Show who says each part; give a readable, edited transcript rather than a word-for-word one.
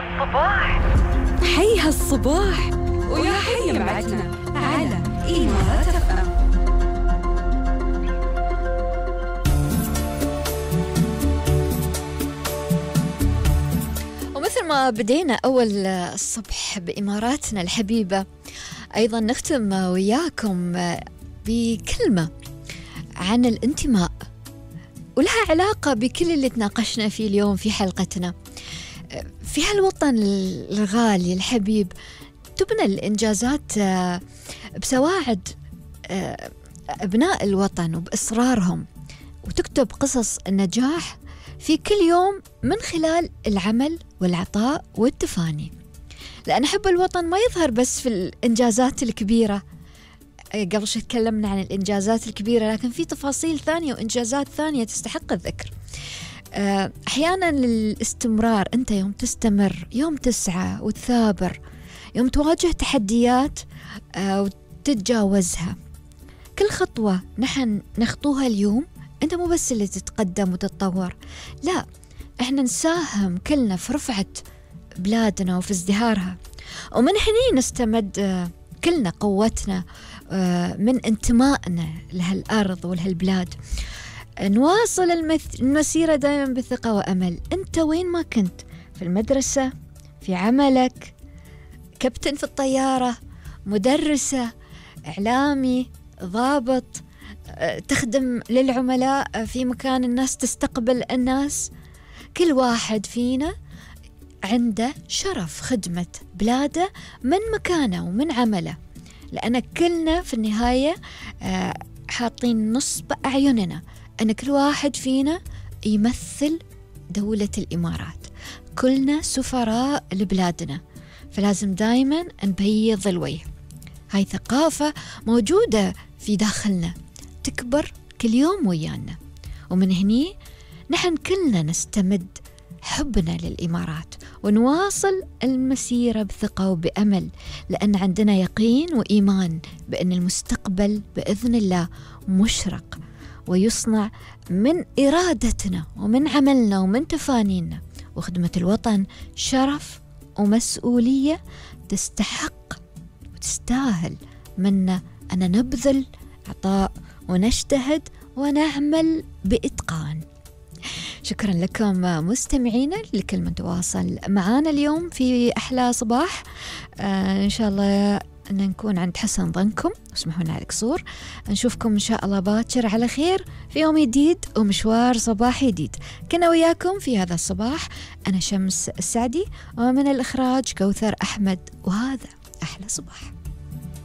Speaker 1: هالصباح.
Speaker 2: حي هالصباح ويا حي معتنا على إمارات FM.
Speaker 3: ومثل ما بدينا أول الصبح بإماراتنا الحبيبة، أيضا نختم وياكم بكلمة عن الانتماء، ولها علاقة بكل اللي تناقشنا فيه اليوم في حلقتنا. في هالوطن الغالي الحبيب تبنى الإنجازات بسواعد أبناء الوطن وبإصرارهم، وتكتب قصص النجاح في كل يوم من خلال العمل والعطاء والتفاني. لأن حب الوطن ما يظهر بس في الإنجازات الكبيرة، قبل شوي تكلمنا عن الإنجازات الكبيرة، لكن في تفاصيل ثانية وإنجازات ثانية تستحق الذكر. أحيانا الاستمرار، أنت يوم تستمر، يوم تسعى وتثابر، يوم تواجه تحديات وتتجاوزها، كل خطوة نحن نخطوها اليوم أنت مو بس اللي تتقدم وتتطور، لا، إحنا نساهم كلنا في رفعة بلادنا وفي ازدهارها. ومن هني نستمد كلنا قوتنا من انتمائنا لهالأرض ولهالبلاد. نواصل المسيرة دائما بثقة وأمل. أنت وين ما كنت، في المدرسة، في عملك، كابتن في الطيارة، مدرسة، إعلامي، ضابط، تخدم للعملاء في مكان الناس تستقبل الناس، كل واحد فينا عنده شرف خدمة بلاده من مكانه ومن عمله، لأن كلنا في النهاية حاطين نصب أعيننا أن كل واحد فينا يمثل دولة الإمارات، كلنا سفراء لبلادنا، فلازم دايما نبيض الوجه. هاي ثقافة موجودة في داخلنا تكبر كل يوم ويانا، ومن هني نحن كلنا نستمد حبنا للإمارات ونواصل المسيرة بثقة وبأمل، لأن عندنا يقين وإيمان بأن المستقبل بإذن الله مشرق ويصنع من إرادتنا ومن عملنا ومن تفانينا. وخدمة الوطن شرف ومسؤولية تستحق وتستاهل منا أن نبذل عطاء ونجتهد ونعمل بإتقان. شكرا لكم مستمعينا لكل من تواصل معنا اليوم في أحلى صباح. إن شاء الله أن نكون عند حسن ظنكم، اسمحوا لنا على القصور. نشوفكم إن شاء الله باكر على خير في يوم جديد ومشوار صباحي جديد. كنا وياكم في هذا الصباح أنا شمس السعدي، ومن الإخراج كوثر أحمد، وهذا أحلى صباح.